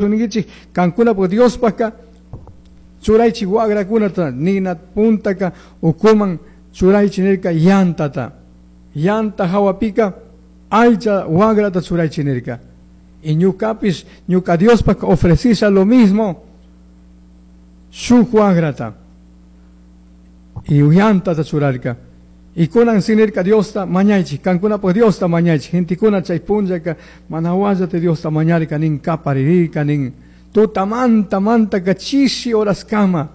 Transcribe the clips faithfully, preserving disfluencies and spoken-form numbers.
Ninkichik kankunapuk Diospaka churaychik wagrakunata nina puntaka ukuman churaychik nirka yantata yanta hawapika aycha wagrata churaychik nirka y ñukapish ñuka Diospaka ofrecisha lo mismo shuk wagrata y yantata churarka y kunan si nirka Diosta mañaychik kankunapuk Diosta mañaychik gentekuna chay punllaka mana wallata Diosta mañarka nin kaparirka nin tutamanta mantaka chishi horaskama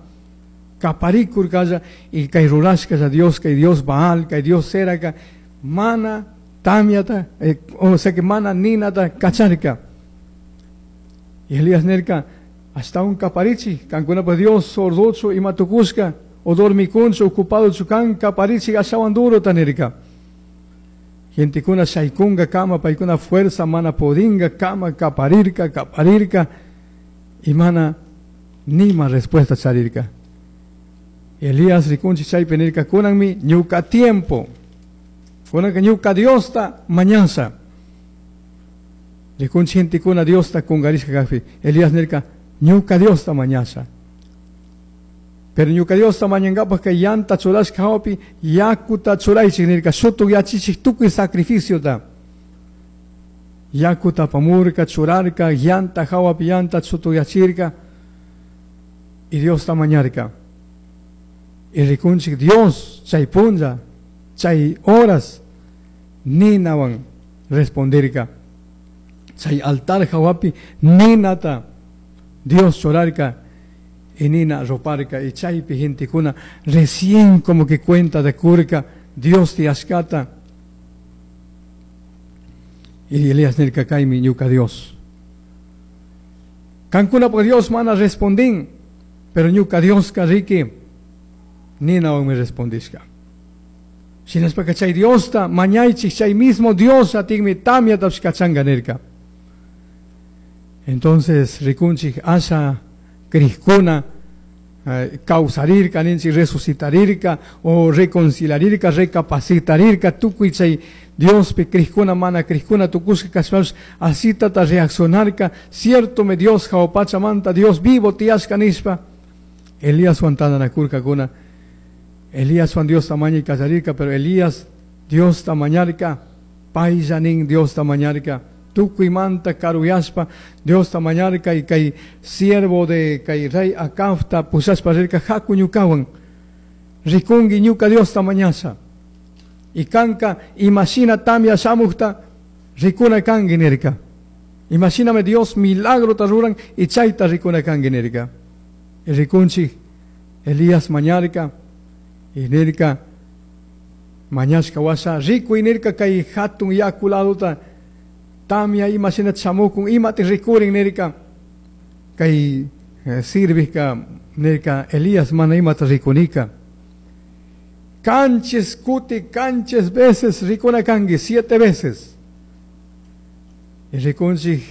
kaparikurkalla y kay rurashkalla Dios kay Dios Baal kay Dios Seraka mana tamyata eh, o sea que mana ninata kacharka y Elías nirka ashtawan kaparichik kankunapuk Dios sordochu ima tukushka o dormikunchu ocupado kan kaparichik ashawan durota nirka gentekuna shaykunga kama paykuna fuerza mana podinga kama kaparirka kaparirka y mana nima respuesta charirka Elías rikunchik chaypi nirka kunanmi ñuka tiempo kunanka ñuka Diosta mañasha rikunchik gentekuna Diosta kungarishka kakpi Elías nirka ñuka Diosta mañasha pero ñuka Diosta mañankapak kay yanta churashka hawapi yakuta churaychik nirka shutukyachichik tukuy sacrificiota yakuta apamurka churarka yanta hawapi yanta shutukyachirka y Diosta mañarka y rikunchik Dios chay punlla chay horas ninawan respondirka chay altar hawapi ninata Dios churarka y nina ruparka y chaypi gentekuna recién como que cuenta de kurka Dios tiyashkata y Elías nirka kaymi ñuka Dios kankunapuk Dios mana respondin pero ñuka Dioska riki ninawanmi respondishka shinashpaka chay Diosta mañaychik chay mismo Dios atinmi tamyatapish kachanka nirka entonces rikunchik asha crijkuna eh, kawsarirka ninchik resucitarirka o reconciliarirka recapacitarirka tukuy chay Diospi crijkuna mana crijkuna tukushka kashpapish asitata reaccionarka cierto me Dios jahua pachamanta Dios vivo tiyashka nishpa Elíaswan tandanakurkakuna Elíaswan Diosta mañay kallarirka pero Elías Diosta mañarka paylla nin Diosta mañarka tukuymanta karuyashpa Diosta mañarka y kay siervo de kay rey Acabta pushashpa rirka haku ñukawan rikunki ñuka Diosta mañasha y kanka imashina tamya shamukta rikuna kanki nirka imashinami Dios milagrota ruran y chayta rikuna kanki nirka y rikunchik Elías mañarka y nirka mañashka washa rikuy nirka kay hatun yaku ladota tamya imashina chamukun imati rikurin nirka kay eh, sirvijka nirka Elías mana imata rikunika kanchis kuti kanchis veces rikuna kanki siete veces y rikunchik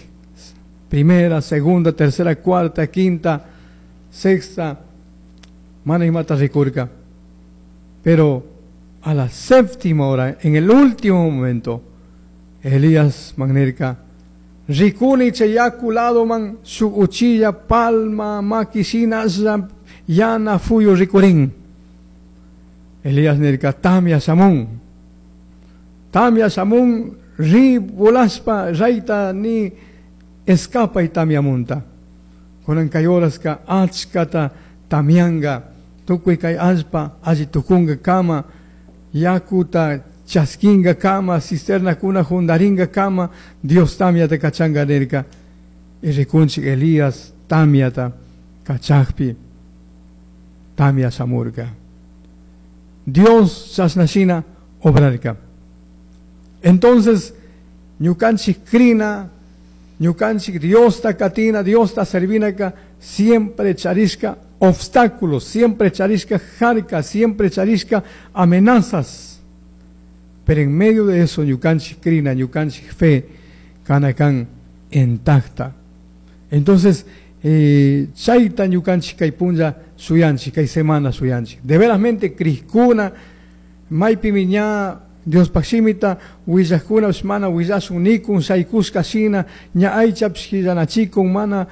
primera, segunda, tercera, cuarta, quinta, sexta mana imata rikurka pero a la séptima hora, en el último momento, Elías man nirka rikuni chay yaku ladoman shuk uchilla palma makishina yana fuyu rikurin Elías nirka tamya shamun tamya shamun ri volashpa rayta ni escapay tamyamunta kunan kay horaska achkata tamyanga tukuy kay allpa alli tukunga kama yakuta chaskinga kama cisternakuna jundaringa kama Dios tamyata kachanga nirka y rikunchik Elías tamyata kachakpi tamya shamurka Dios chashnashina obrarka entonces ñukanchik krina ñukanchik Diosta katina Diosta servinaka siempre charishka obstáculos, siempre charishka jarka, siempre charishka amenazas. Pero en medio de eso, ñukanchik krina, ñukanchik fe, kanakan intacta. Entonces, eh, chayta ñukanchik kay punlla shuyanchik, kay semana shuyanchik. De verasmente, crijkuna, maypimi ña Diospaj shimita huillajcunapish mana huillashun nicun shaicushca shina ña aychapish quillanachicun mana